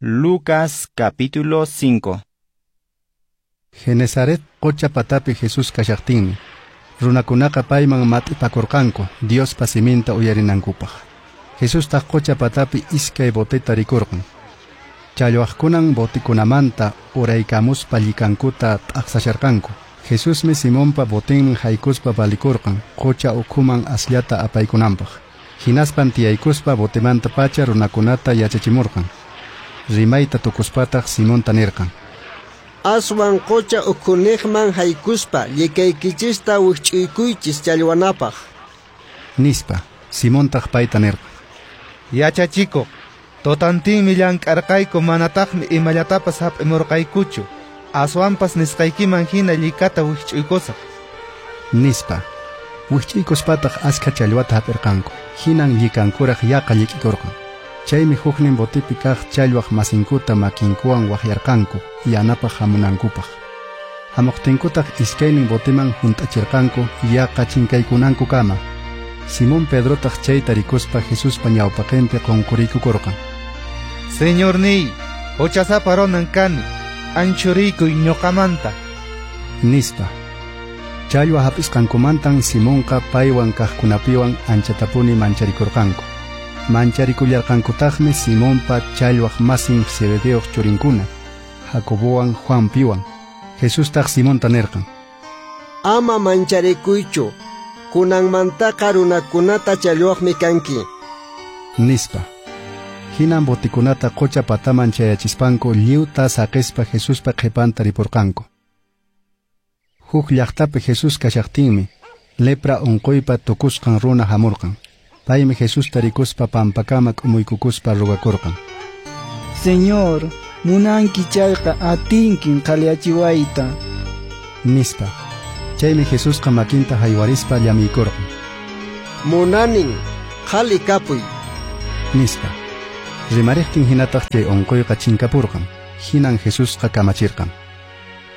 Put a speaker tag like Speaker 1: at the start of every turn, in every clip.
Speaker 1: Lucas capítulo 5.
Speaker 2: Genesaret qocha patapi Jesús kashaqtinmi, runakunaqa payman mat'ipakurqanku Diospa siminta uyarinankupaq. Jesustaq qocha patapi iskay boteta rikurqan. Challwaqkunan botikunamanta uraykamuspa llikankuta t'aqsasharqanku. Jesusmi Simonpa botinman haykuspa valikurqan qocha ukhuman asllata apaykunanpaq. Hinaspan tiyaykuspa botemanta pacha runakunata yachachimurqan. Rimayta tukuspataq Simonta nirqan:
Speaker 3: Aswan qocha ukhuniqman haykuspa llikaykichista wikch'uykuychis challwanapaq.
Speaker 2: Nispa. Simontaq payta nirqan:
Speaker 4: Yachachikuq, totantinmi llank'arqayku, manataqmi imallatapas hap'imurqaykuchu. Aswanpas nisqaykiman hina llikata wikch'uykusaq.
Speaker 2: Nispa. Wikch'uykuspataq askha challwata hap'irqanku. Hinan llikankuraq yaqa llik'ikurqan. Chaymi huknin botipi kaq challwaq masinkuta makinkuwan waqyarqanku yanapaq hamunankupaq. Hamuqtinkutaq iskaynin botiman hunt'achirqanku yaqa chinkaykunankukama. Simón Pedrotaq chayta rikuspa Jesuspa ñawpaqinpi qunquriykukurqan.
Speaker 4: Señorniy, huchasapa runan kani, anchuriykuy ñuqamanta.
Speaker 2: Nispa. Challwa hap'isqankumantan Simonqa paywan kaqkunapiwan anchatapuni mancharikurqanku. Mancharikullarqankutaqmi Simonpa challwaq masin Zebedeoq churinkuna, Jacobowan Juanpiwan. Jesustaq Simonta nirqan:
Speaker 3: Ama mancharikuychu, kunanmantaqa runakunata challwaqmi kanki.
Speaker 2: Nispa. Hinan botikunata qocha pataman chayachispanku lliwta saqispa Jesuspa qhipanta ripurqanku. Huk llaqtapi Jesús kashaqtinmi lepra unquypa tukusqan runa hamurqan. Paymi Jesusta rikuspa pampakama k'umuykukuspa rugakurqan:
Speaker 5: Señor, munanki chayqa atinkin qhaliyachiwayta.
Speaker 2: Nispa. Chaymi Jesusqa makinta haywarispa llamiykurqan.
Speaker 3: Munanin, qhali kapuy.
Speaker 2: Nispa. Rimariqtin hinataq chay unquyqa chinkapurqan. Hinan Jesusqa kamachirqan: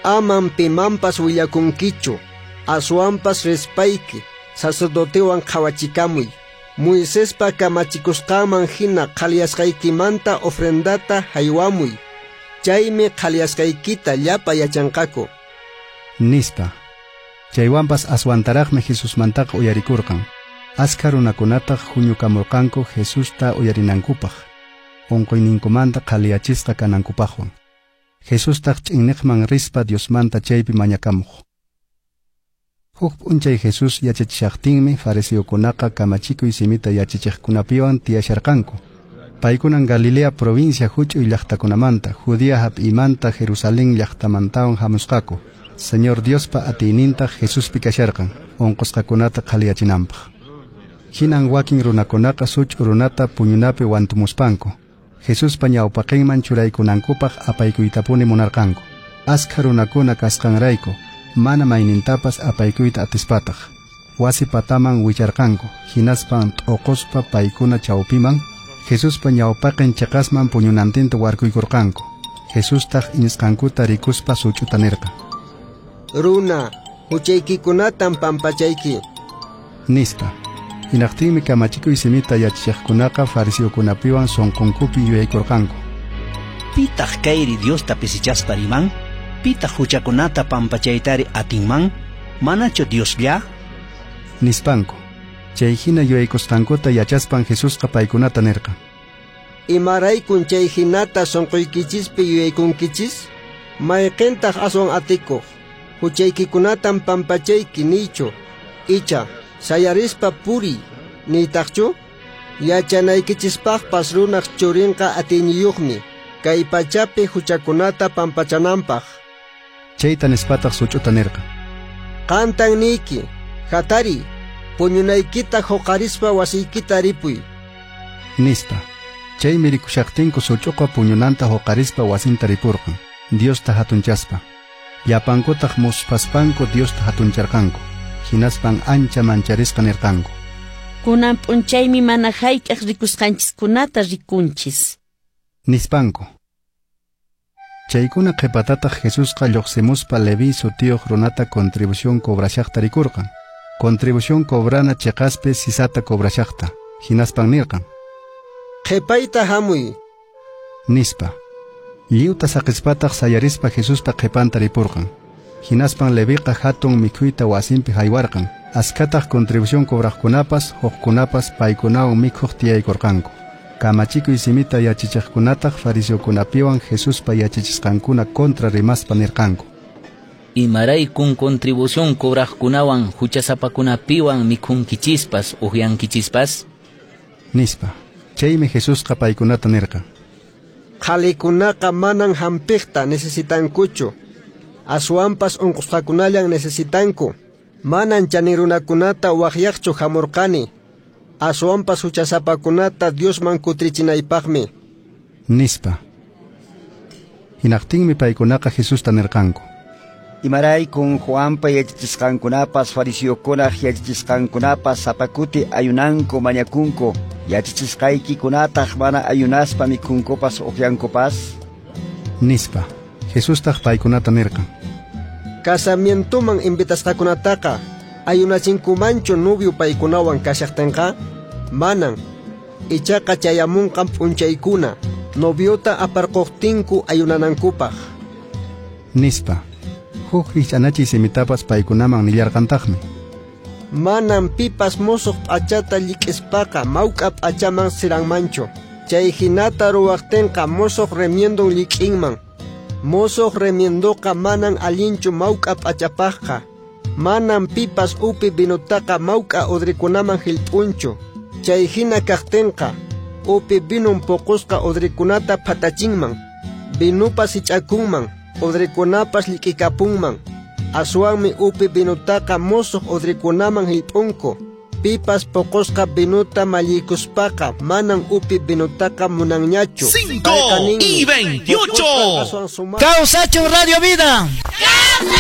Speaker 3: Aman pimanpas willakunkichu, aswanpas rispayki sacerdotewan qhawachikamuy. Moisespa kamachikusqanman hina qhaliyasqaykimanta ofrendata haywamuy. Chaymi qhaliyasqaykita llapa yachanqaku.
Speaker 2: Nispa. Chaywanpas aswantaraqmi Jesusmantaqa uyarikurqan. Askha runakunataq huñukamurqanku Jesusta uyarinankupaq, unquyninkumanta qhaliyachisqa kanankupaqwan. Jesustaq ch'inniqman rispa Diosmanta chaypi mañakamuq. Huk p'unchay Jesús yachachishaqtinmi fariseokunaqa kamachikuy simita yachachiqkunapiwan tiyasharqanku. Paykunan Galilea provincia huch'uy llaqtakunamanta, Judea hap'imanta, Jerusalén llaqtamantawan hamusqaku. Señor Diospa atiynintaq Jesuspi kasharqan, unqusqakunata qhaliyachinanpaq. Hinan wakin runakunaqa such'u runata puñunapi wantumuspanku Jesuspa ñawpaqinman churaykunankupaq apaykuytapuni munarqanku. Askha runakuna kasqanrayku mana maynintapas apaykuyta atispataq wasi pataman wicharqanku. Hinaspan t'uquspa paykuna chawpiman Jesuspa ñawpaqin chiqasman puñunantinta warkuykurqanku. Jesustaq iñisqankuta rikuspa such'uta nirqan:
Speaker 3: Runa, huchaykikunatan pampachayki.
Speaker 2: Nispa. Hinaqtinmi kamachikuy simita yachachiqkunaqa fariseokunapiwan sunqunkupi yuyaykurqanku:
Speaker 6: Pitaq kayri Diosta pisichaspa riman? Pitaq huchakunata pampachaytari atinman? Manachu Dioslla?
Speaker 2: Nispanku. Chay hina yuyaykusqankuta yachaspan Jesusqa paykunata nirqan:
Speaker 3: Imaraykun chay hinata sunquykichispi yuyaykunkichis? Mayqintaq aswan atikuq? Huchaykikunatan pampachayki niychu, icha sayarispa puriy niytaqchu? Yachanaykichispaqpas runaq churinqa atiyniyuqmi kay pachapi huchakunata pampachananpaq.
Speaker 2: Chayta nispataq such'uta nirqan:
Speaker 3: Qantan niyki, hatariy, puñunaykita huqarispa wasiykita ripuy.
Speaker 2: Nispa. Chaymi rikushaqtinku such'uqa puñunanta huqarispa wasinta ripurqan, Diosta hatunchaspa. Llapankutaq musphaspanku Diosta hatuncharqanku. Hinaspan ancha mancharisqa nirqanku:
Speaker 7: Kunan p'unchaymi mana hayk'aq rikusqanchiskunata rikunchis.
Speaker 2: Nispanku. Chaykuna qhipatataq Jesusqa lluqsimuspa Leví sutiyuq runata contribución cobrashaqta rikurqan. Contribución cobrana chiqaspi sisata cobrashaqta. Hinaspan nirqan:
Speaker 3: Qhipayta hamuy.
Speaker 2: Nispa. Lliwta saqispataq sayarispa Jesuspa qhipanta ripurqan. Hinaspan Leviqa hatun mikhuyta wasinpi haywarqan. Askataq contribución cobraqkunapas, hukkunapas paykunawan mikhuq tiyaykurqanku. Kamachikuy simita yachachiqkunataq fariseokunapiwan Jesuspa yachachisqankuna kontra rimaspa nirqanku.
Speaker 8: Imaraykun contribución cobraqkunawan huchasapakunapiwan mikhunkichispas uqyankichispas?
Speaker 2: Nispa. Chaymi Jesusqa paykunata nirqan.
Speaker 3: Qhalikunaqa manan hampiqta necesitankuchu. Aswanpas unqusqakunallan necesitanku. Manan chanin runakunata waqyaqchu hamurqani. Aswanpas huchasapakunata Diosman kutrichinaypaqmi.
Speaker 2: Nispa. Hinaqtinmi paykunaqa Jesusta nirqanku.
Speaker 9: Imaraykun Juanpa yachachisqankunapas fariseokunaq yachachisqankunapas sapa kuti ayunanku mañakunku, yachachisqaykikunataq mana ayunaspa mikhunkupas uqyankupas?
Speaker 2: Nispa. Jesustaq paykunata nirqan.
Speaker 3: Casamientoman invitasqakunataqa ayunachinkumanchu novio paykunawan kashaqtinqa? Manan. Ichaqa chayamunqan p'unchaykuna noviota aparquqtinku ayunanankupaq.
Speaker 2: Nispa. Huk rikch'anachiy simitapas paykunaman nillarqantaqmi.
Speaker 3: Manan pipas musuq p'achata llik'ispaqa mawk'a p'achaman siranmanchu. Chay hinata ruwaqtinqa musuq remiendon llik'inman. Musuq remiendoqa manan allinchu mawk'a p'achapaqqa. Manan pipas upi vinutaqa mawk'a udrikunaman hillp'unchu. Chay hina kaqtinqa upi vinun puqusqa udrikunata phatachinman. Vinupas hich'akunman, udrikunapas llik'ikapunman. Aswanmi upi vinutaqa musuq udrikunaman hillp'unku. Pipas puqusqa vinuta malliykuspaqa manan upi vinutaqa munanñachu.
Speaker 10: 5 y 28.
Speaker 11: ¡Kawsachun Radio Vida!